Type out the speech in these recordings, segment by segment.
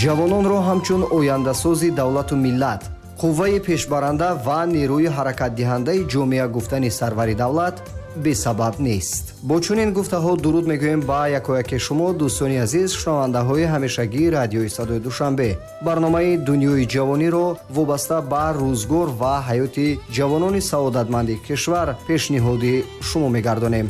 Ҷавононро ҳамчун ояндасози давлату миллат, қувваи пешбаранда ва нерӯи ҳаракатдиҳандаи ҷомеа гуфтани сарвари давлат бесабаб нест. Бо чунин гуфтаҳо дуруд мегӯем ба якояке шумо, дӯстони азиз, шунавандаҳои ҳамешагии радиои садои Душанбе. Барномаи Дунёи ҷавониро вобаста ба рӯзгор ва ҳаёти ҷавонони саодатманди кишвар пешниҳоди шумо мегардонем.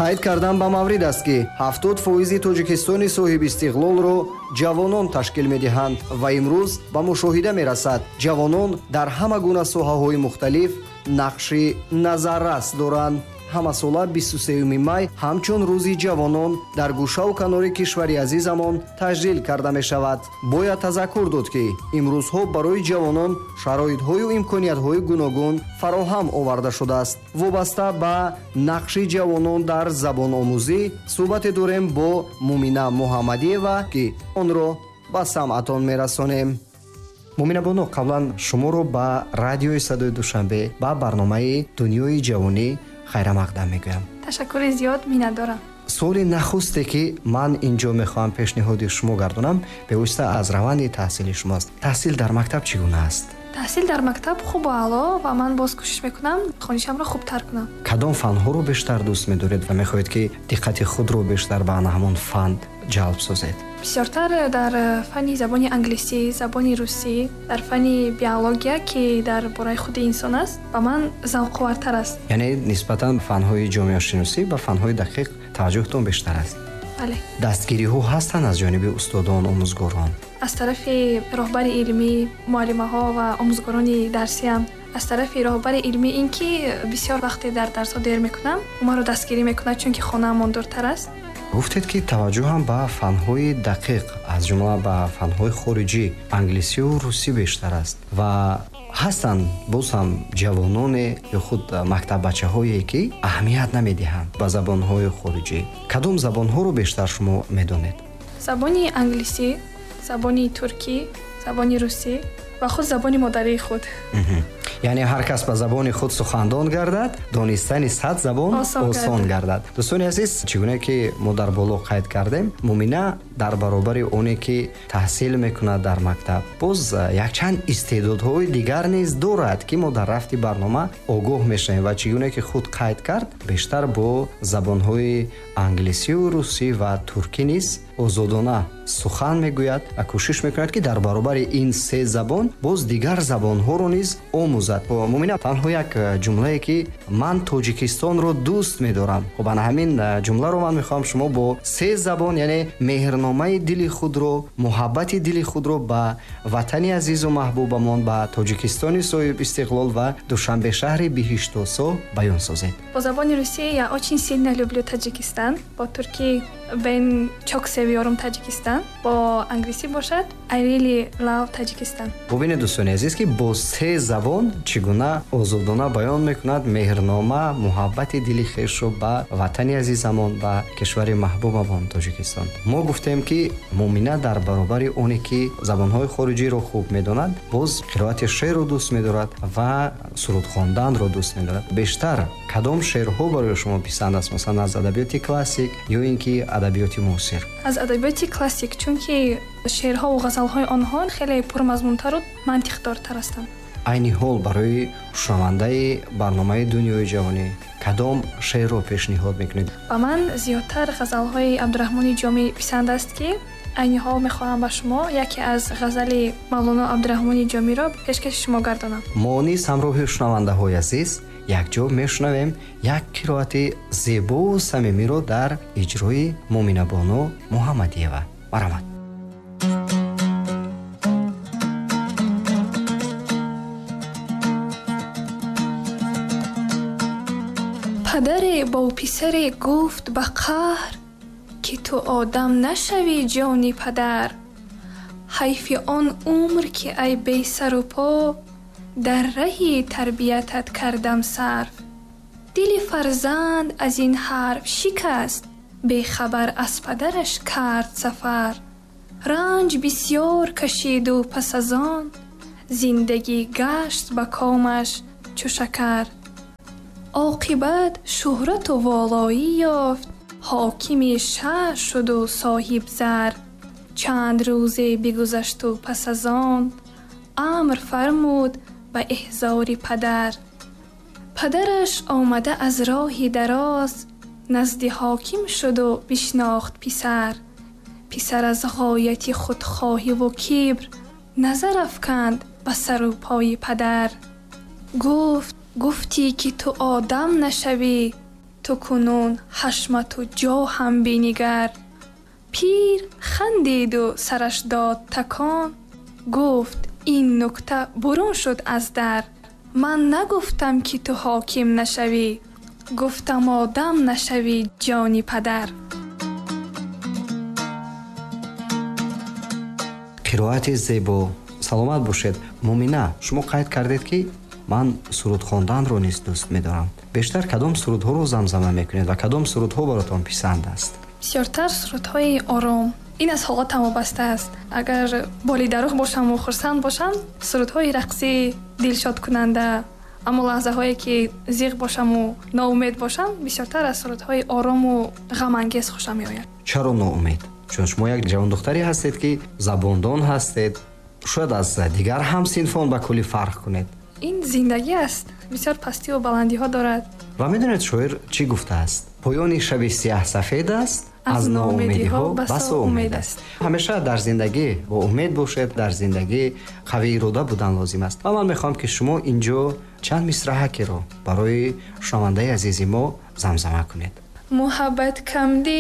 Қайд кардан ба маврид аст, ки 70% Тоҷикистони соҳибистиқлолро ҷавонон ташкил медиҳанд ва имрӯз ба мушоҳида мерасад, ҷавонон дар ҳама гуна соҳаҳои мухталиф нақши назаррас доранд. Ҳамасола 23 май ҳамчун рӯзи ҷавонон дар гӯшаву канори кишвари азизамон таҷлил карда мешавад. Бояд тазаккур дод, ки имрӯзҳо барои ҷавонон шароитҳою имкониятҳои гуногун фароҳам оварда шудааст. Вобаста ба нақши ҷавонон дар забономӯзӣ суҳбате дорем бо Мумина Муҳаммадиева, ки онро ба самъатон мерасонем. Мумина бону, қаблан шуморо ба радиои садои Душанбе, ба барномаи Дунёи ҷавонӣ хайрамақдам мегӯям. Ташаккури зиёд, миннатдорам. Суоли нахусте, ки ман инҷо мехоҳам пешниҳоди шумо гардонам, бевосита аз раванди таҳсили шумоаст. Таҳсил дар мактаб чӣ гуна аст? Таҳсил дар мактаб хубу аъло ва ман боз кӯшиш мекунам хонишамро хубтар кунам. Кадом фанҳоро бештар дӯст медоред ва мехоҳед, ки диққати худро бештар ба ана ҳамон фан ҷалб созед? Бисёртар дар фанни забони англисӣ, забони русӣ, дар фанни биология, ки дар бораи худи инсон аст, ба ман завқовартар аст. Яъне нисбатан фанҳои ҷомеашиносӣ ба фанҳои дақиқ таваҷҷӯҳтон бештар аст? Бале. Дастгириҳо ҳастанд аз ҷониби устодон, омӯзгорон? Аз тарафи роҳбари илмӣ, муаллимаҳо ва омӯзгорони дарсиам. Аз тарафи роҳбари илмӣ ин ки бисёр вақте дар дарсҳо дер мекунам, маро дастгирӣ мекунад, чунки хонаамон дуртар аст. Гуфтед, ки таваҷҷӯҳам ба фанҳои дақиқ, аз ҷумла ба фанҳои хориҷӣ, англисию русӣ бештар аст ва ҳастанд боз ҳам ҷавононе ё худ мактаббачаҳое, ки аҳамият намедиҳанд ба забонҳои хориҷӣ. Кадом забонҳоро бештар шумо медонед? Забони англисӣ, забони туркӣ, забони русӣ ва худ забони модарии худ. Яъне ҳар кас ба забони худ сухандон гардад, донистани 100 забон осон гардад. Дӯстони азиз, чӣ гуна ки мо дар боло қайд кардем, Мумина дар баробари оне ки таҳсил мекунад дар мактаб, боз якчанд истеъдодҳои дигар низ дорад, ки мо дар рафти барнома огоҳ мешавем ва чӣ гуна ки худ қайд кард, бештар бо забонҳои англисию русӣ ва туркӣ низ озодона сухан мегӯяд ва кӯшиш мекунад, ки дар баробари ин се забон боз дигар забонҳоро низ омӯзад. Мумина, танҳо як ҷумлае, ки ман Тоҷикистонро дӯст медорам. Хуб, ана ҳамин ҷумларо ман мехоҳам шумо бо се забон, яъне меҳрномаи дили худро, муҳаббати дили худро ба ватани азизу маҳбубамон, ба Тоҷикистони соҳиб истиқлол ва Душанбе шаҳри биҳиштосо баён созед. Бо забони русӣ я очень сильно люблю Таджикистан, бо туркӣ ben çok seviyorum Таджикистан, бо англисӣ бошад I really love Таджикистан. Бубинед, дӯстони азиз, ки бо се забон чӣ гуна озодона баён мекунад меҳрнома, муҳаббати дили хешро ба ватани азизамон, ба кишвари маҳбубамон Тоҷикистон. Мо гуфтем, ки Мумина дар баробари оне ки забонҳои хориҷиро хуб медонад, боз қироати шеърро дӯст медорад ва суруд хонданро дӯст медорад. Бештар кадом шеърҳо барои шумо писанд аст? Масалан, аз адабиёти классик ё ин ки адабиёти муосир? Аз адабиёти классик, чунки шеърҳо ва ғазалҳои онҳо хеле пурмазмунтару мантиқдортар ҳастанд. Айни ҳол барои шунавандаи барномаи Дунёи ҷавонӣ кадом шеърро пешниҳод мекунед? Ба ман зиёдтар ғазалҳои Абдураҳмони Ҷомӣ писанд аст, ки айни ҳол мехоҳам ба шумо яке аз ғазали Мавлоно Абдураҳмони Ҷомиро пешкаши шумо гардонам. Мо низ ҳамроҳи шунавандаҳои азиз якҷо мешунавем як қироати зебову самимиро дар иҷрои Муминабону Муҳаммадиева. Марҳамат. Падаре бо писаре гуфт ба қаҳр, ки ту одам нашавӣ ҷони падар. Ҳайфи он умр, ки ай бесару по, дар раҳи тарбиятат кардам сарф. Дили фарзанд аз ин ҳарф шикаст, бехабар аз падараш кард сафар. Ранҷ бисёр кашиду пас аз он зиндагӣ гашт ба комаш чу шакар. Оқибат шӯҳрату волоӣ ёфт, Ҳокими шаҳр шуду соҳиб зар. Чанд рӯзе бигузашту пас аз он амр фармуд ба эҳзори падар. Падараш омада аз роҳи дароз назди ҳоким шуду бишнохт писар. Писар аз ғояти худхоҳиву кибр назар афканд ба сару пои падар. Гуфт: гуфтӣ ки ту одам нашавӣ, ту кунун ҳашмату ҷоҳам бинигар. Пир хандиду сараш дод такон, гуфт: ин нукта бурун шуд аз дар. Ман нагуфтам ки ту ҳоким нашавӣ, гуфтам одам нашавӣ, ҷони падар. Қироати зебо, саломат бошед. Муъмина, шумо қайд кардед, ки ман суруд хонданро низ дӯст медорам. Бештар кадом сурудҳоро замзама мекунед ва кадом сурудҳо баротон писанд аст? Бисёртар сурудҳои ором. Ин аз ҳолатам вобаста аст. Агар болидарух бошаму хурсанд бошам, сурудҳои рақсӣ дилшодкунанда. Аммо лаҳзаҳое ки зиқ бошаму ноумед бошам, бисёртар аз сурудҳои орому ғамангез хушам меояд. Чаро ноумед? Чун шумо як ҷавондухтаре ҳастед, ки забондон ҳастед, шояд аз дигар ҳамсинфон ба куллӣ фарқ кунед. Ин зиндагӣ аст, бисёр пастиву баландиҳо дорад. Ва медонед, шоир чӣ гуфтааст? Поёни шаби сияҳ сафед аст, аз ноумедиҳо басо умед аст. Ҳамеша дар зиндагӣ бо умед бошед, дар зиндагӣ қавӣ ирода будан лозим аст. Ва ман мехоҳам, ки шумо инҷо чанд мисраҳакеро барои шунавандаи азизи мо замзама кунед. Муҳаббат камди.